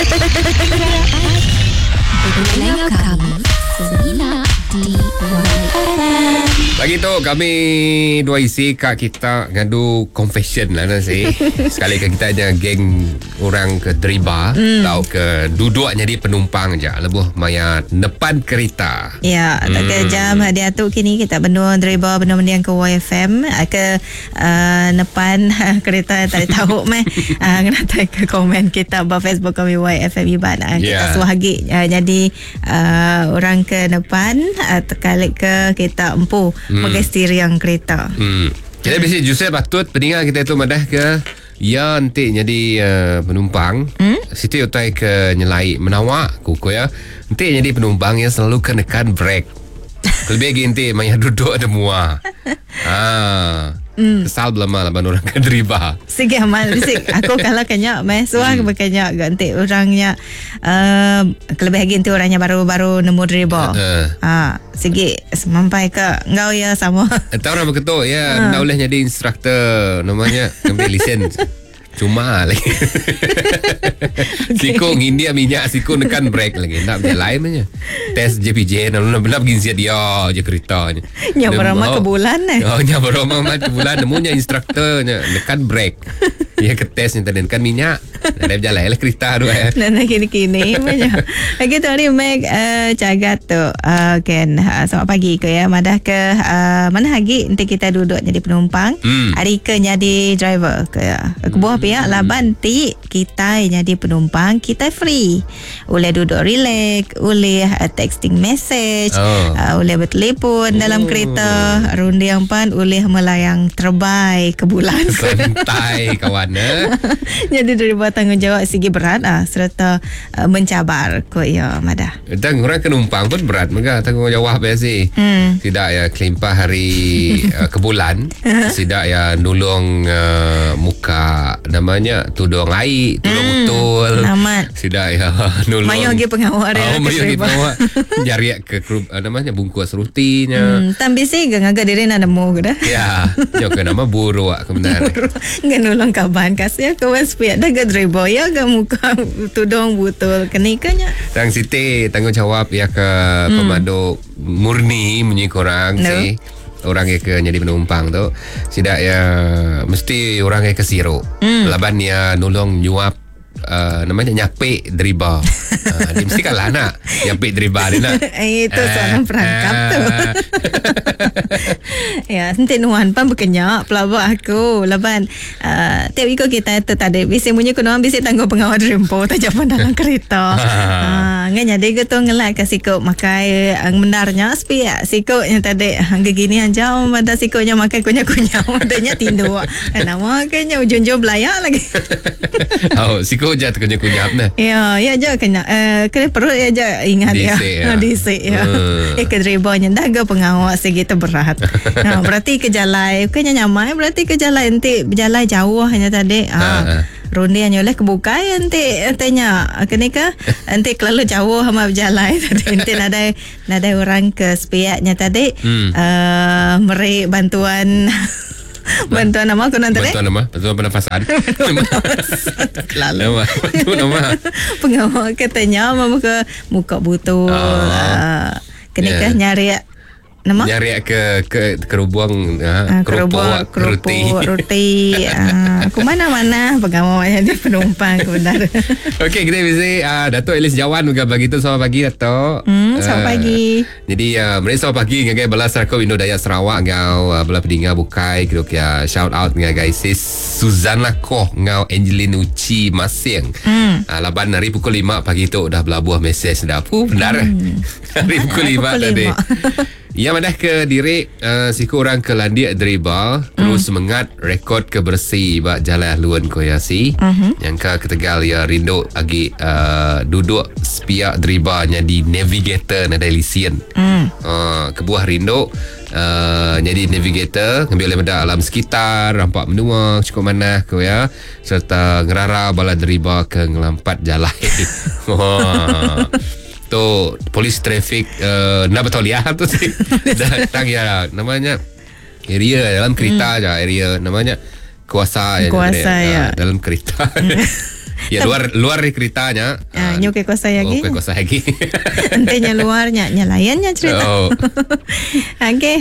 Pendengar kami semina di YFM. Pagi tu kami dua isi kak kita ngadu confession lah nasi. Sekali ke kita nya geng orang ke deriba atau ke duduk jadi penumpang je lebuh maya nepan kereta. Ya, tak ke jam dia tu kini kita benua deriba benua mendiang ke YFM ah, ke nepan kereta tak tahu meh kena ke komen kita ba Facebook kami YFM Iban. Kita suah lagi jadi orang ke depan terkalik ke kita empu pakai steering kereta. Kita bisi Joseph patut peningat kita tu madah ke ya nanti jadi penumpang. Siti utai ke nyelai menawak kuku ya. Nanti jadi penumpang ya selalu kena nekan brake. Lebih lagi nanti maya duduk ada mua. Kesal belama laban orang ke deriba. Sige amal bisik aku kalau kenya meh suah hmm. berkenya ganti orangnya kelebih lagi nanti orangnya baru-baru nemu deriba. Sigi sampai ke ngau ya sama. Tahu orang begitu ya, nak boleh jadi instruktor namanya ambil lisen. Cuma lagi. Siko ngindia minyak, siko nekan brake lagi. Nak berjalan aja. Test JPJ nak nak pergi siap dia je keretanya. Nya berama ke bulan eh. Oh, nya berama ke bulan nemunya instruktornya nekan brake. Dia ke test ni tadi nekan minyak. Nak berjalan lah kereta tu eh. Nak kini-kini banyak. Okey tu ni Meg cagat tu. Ken selamat pagi ke ya. Madah ke mana lagi nanti kita duduk jadi penumpang. Hari ke jadi driver ke ya. Kebuah pihak laban ti kita jadi penumpang kita free. Boleh duduk relax, boleh texting message, boleh bertelefon dalam kereta, rundiang pan boleh melayang terbaik ke bulan. Santai kawan eh. Jadi daripada tanggungjawab segi berat serta mencabar ko ya madah. Dan orang penumpang pun berat mega tanggungjawab ya sih. Tidak ya kelimpah hari ke bulan, tidak ya nulung muka namanya tudung air, tudung betul. Amat. Tidak ya nulung. Mayo lagi pengawal dia. Oh, mayo lagi pengawal. Nyari ke namanya bungkus rutinya. Tam bisi ke ngagak diri nak nemu ke dah. Ya, yo ke nama buruk kebenar. Ngan nulung kaban kasih ke wes pihak dah ke driver ya ke muka tudung butul kenikanya. Tang Siti tanggungjawab ya ke pemandu murni munyi korang no. Si orang yang ke jadi penumpang tu sidak ya mesti orang yang ke siru. Laban ya nulung nyuap namanya nyapik deriba. Dia mesti kalah nak nyapik deriba dia nak. Itu soalan perangkap tu. Ya, nanti nuan pan berkenyak pelabak aku. Laban tiap ikut kita tu tadi bisi munyi ku nuan bisi tangguh pengawal rempo tak japan dalam kereta. Ngan jadi ke tu ngelak ke sikuk makai mendarnya sepi sikuk yang tadi gini aja pada sikuknya makai kunyah-kunyah padanya tinduk. Nama kenya ujung-ujung belayak lagi. Oh, sikuk je terkunyah-kunyah nah. Ya, ya je kena kena perut ya je ingat ya. Disik ya. Ke dribanya dah ke pengawal segitu berat. Nah, berarti ke jalan kena nyamai berarti ke jalan nanti berjalan jauh hanya tadi. Rundian oleh kebukai nanti tanya kena ke nanti terlalu jauh sama berjalan tadi nanti nadai orang ke sepiaknya tadi meri bantuan bantuan nama aku nanti bantuan nama bantuan pernafasan lalu bantuan nama pengawal katanya mama ke muka butuh kena ke nyari nama nyari ke kerubung kerupuk roti roti aku mana-mana pengawal jadi penumpang benar. Okey, kita bisa Datuk Elis Jawan juga bagi tu selamat pagi Datuk. Selamat pagi. Jadi mereka selamat pagi ngagai bala Sarakau Indo Dayak Sarawak ngau bala pedinga bukai kira kia shout out ngagai sis Suzana Koh ngau Angelina Uchi Masing. Laban hari pukul 5 pagi tu dah belabuh mesej dah. Puh benar. Hari pukul 5 tadi. Ya madah ke diri siku orang ke landiak deriba terus semangat rekod ke bersih bak jalan haluan koyasi. Yang ke ketegal ya rindu agi duduk sepiak deriba jadi navigator nadai lisen. Kebuah rindu jadi navigator ngambil oleh benda alam sekitar rampak menua cukup manah ko ya serta ngerara bala deriba ke ngelampat jalan. Tu polis trafik nak betul ya tu sih. Datang ya namanya area dalam kereta aja area namanya kuasa ya, kuasa ya. Dalam kereta. Ya luar luar di keretanya. Ah, nyu ke kuasa lagi. Oh, ke kuasa lagi. Entinya luarnya, nya lainnya cerita. Oh. Okey,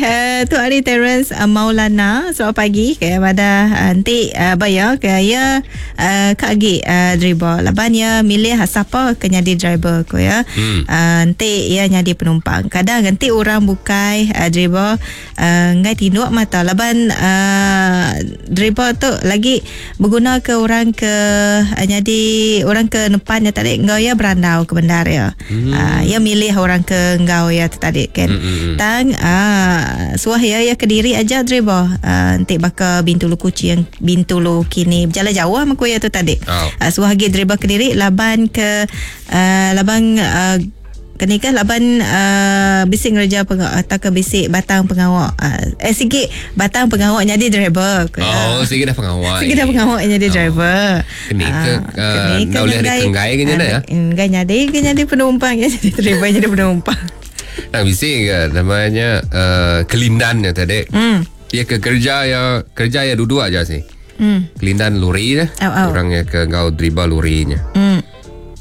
tu hari Terence Maulana selamat pagi ke pada nanti baya ke ya kak agi driver. Laban ya milih siapa ke jadi driver ko ya. Nanti ya jadi penumpang. Kadang nanti orang bukai driver ngai tinduk mata laban driver tu lagi berguna ke orang ke jadi orang ke depannya tadi ngau ya berandau ke bendar ya. Ya milih orang ke ngau ya tadi kan. Tang suah ya ya kediri aja driver. Nanti baka Bintulu Kuching, Bintulu kini berjalan jauh sama ya tu tadi. Oh. Suah lagi driver kediri laban ke laban kenika laban bisik ngerja atau ke bisik batang pengawak. Sikit batang pengawak jadi driver. Oh, sikit dah pengawak. Sikit dah pengawak jadi driver. Kenika dah boleh ada kenggai ke nya ya? Enggai jadi ke jadi penumpang ya jadi driver jadi penumpang. Nah, bisik ke namanya kelindan ya tadi. Dia ke kerja ya duduk aja sih. Kelindan lori dah. Oh. Orang yang ke ngau driver lorinya.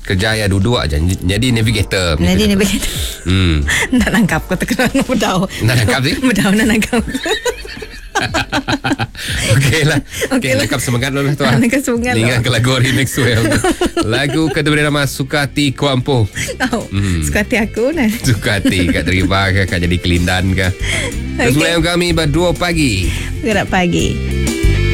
Kerja ya duduk aja jadi navigator. Jadi navigator. Nak nangkap kau terkena bedau. Nak nangkap sih? Bedau nak nangkap. Okey lah. Okey, nangkap semangat lah tu. Nangkap semangat. Ingat ke lagu remix well. Lagu kedua nama Sukati Kuampo. Oh, Sukati aku nah. Sukati kat terima ke kat jadi kelindan ke. Terus mulai kami ber 2 pagi. Gerak pagi.